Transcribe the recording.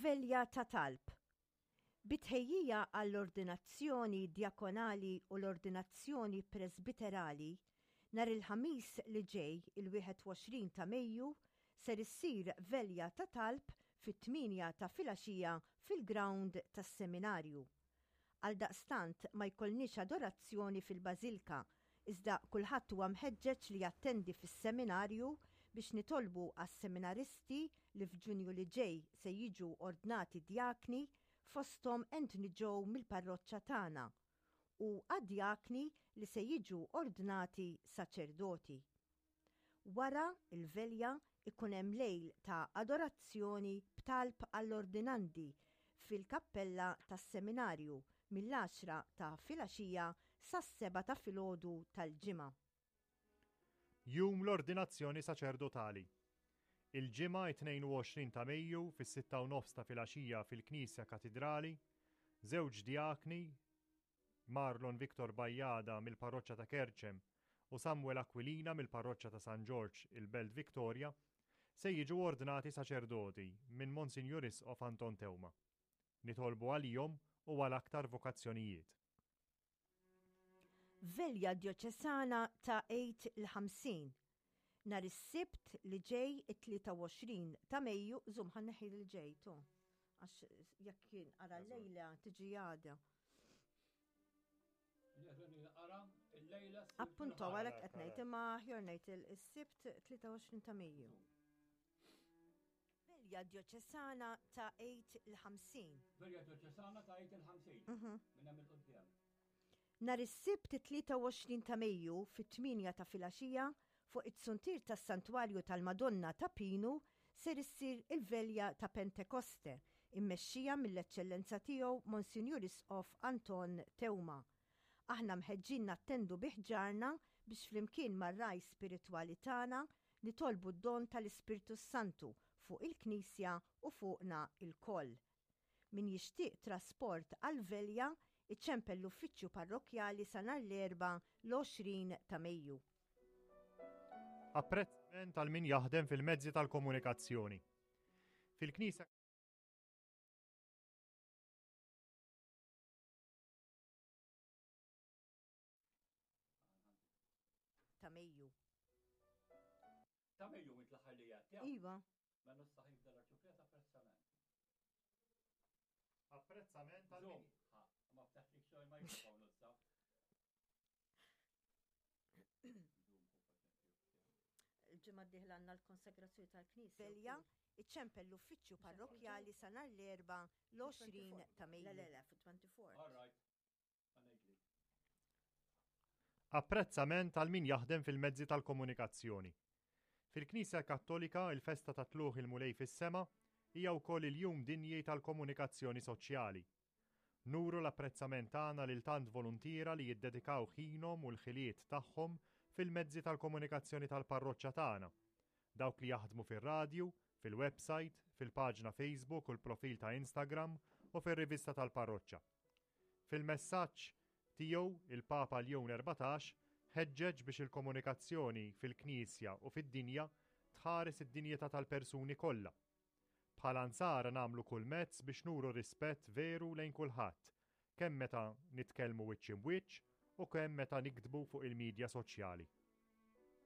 Velja ta' talb. Bi tħejjija għall-ordinazzjoni djakonali u l-ordinazzjoni presbiterali, nhar il-Ħamis li ġej, il-21 ta' Mejju, ser issir velja ta' talb fit-tmienja ta' filgħaxija fil-grawnd tas-Seminarju. Għaldaqstant ma jkollniex adorazzjoni fil-Bażilka, iżda kulħadd huwa mħeġġeġ li jattendi fis-Seminarju biex nitolbu għas-seminaristi li f'Ġunju li ġej se jiġu ordnati djakni, fosthom Anthony Joe mill-parroċċa tagħna, u għad-djakni li se jiġu ordnati saċerdoti. Wara l-velja ikun hemm lejl ta' adorazzjoni b'talb għall-ordinandi fil-kappella tas-Seminarju mill-għaxra ta' filgħaxija sas-sebgħa ta' filgħodu tal-Ġimgħa. Jum l-Ordinazzjoni Saċerdotali. Il-Ġimgħa it-22 ta' Mejju fis-sitta u nofs ta' filgħaxija fil-Knisja Katidrali, żewġ djakni, Marlon Victor Bajada mill-Parroċċa ta' Kerċem u Samuel Aquilina mill-Parroċċa ta' San Ġorġ il-Belt Victoria, se jiġu ordnati saċerdoti minn Monsinjur Isqof Anton Teuma. Nitolbu għalihom u għal aktar vokazzjonijiet. Velja Djoċesana ta' Għid il-50. Nhar is-Sibt li ġej it-23 ta' Mejju, żomm ħa nneħħi lil ġej tu. Għax jekk kien qara llejla tiġi għada. Appunto għalhekk qed ngħid imma aħjar ngħid is-Sibt 23 ta' Mejju. Velja Djoċesana ta' Għid il-50. Velja Djoċesana ta' Għid il-50. Mhm. Minn hemm il-quddiem. Nhar is-Sibt it-23 ta' Mejju fit-tmienja ta' filgħaxija fuq it-suntier tas-Santwarju tal-Madonna ta' Pinu ser issir il-Velja ta' Pentekoste immexxija mill-Eċċellenza Tiegħu Monsinjur Isqof Anton Teuma. Aħna mħeġġin nattendu bi ħġarna biex flimkien mar-Ragħaj Spiritwali tagħna nitolbu d-don tal-Ispirtu s-Santu fuq il-Knisja u fuqna lkoll. Min jixtieq trasport għall-Velja, iċempel l-Uffiċċju Parrokkjali sa nhar l-Erbgħa l-20 ta' Mejju. Apprezzament għal min jaħdem fil-mezzi tal-komunikazzjoni. Fil-Knisja Ta' Mejju. Ta' Mejju int l-aħħar li għedt. Iva. Mela s-saħif dal-arċipriet apprezzament. Apprezzament għal min. Ma ftaħtlik xogħol microphone issa. Il-ġimgħa d-dieħla għandna l-konsegrazzjoni tal-Knisja. Velja, iċempel l-uffiċċju parrokkjali sa nhar l-Erbgħa l-20 ta' Mejju. Le, le, le, fit-24. All right. Apprezzament għal min jaħdem fil-mezzi tal-komunikazzjoni. Fil-Knisja Kattolika, il-festa ta' Tlugħ il-Mulej fis-Sema hija wkoll il-Jum Dinji tal-Komunikazzjoni Soċjali. Nuru l-apprezzament tagħna lil tant voluntiera li jiddedikaw ħinhom u l-ħiliet tagħhom fil-mezzi tal-komunikazzjoni tal-parroċċa tagħna, dawk li jaħdmu fir-radju, fil-websajt, fil-paġna Facebook u l-profil ta' Instagram u fir-rivista tal-parroċċa. Fil-messaġġ tiegħu, il-Papa Ljun 14 ħeġġeġ biex il-komunikazzjoni fil-Knisja u fid-dinja tħares id-dinjità tal-persuni kollha. Bħala Nsara nagħmlu kull mezz biex nuru rispett veru lejn kulħadd, kemm meta nitkellmu wiċċ imb'wiċċ u kemm meta niktbu fuq il-midja soċjali.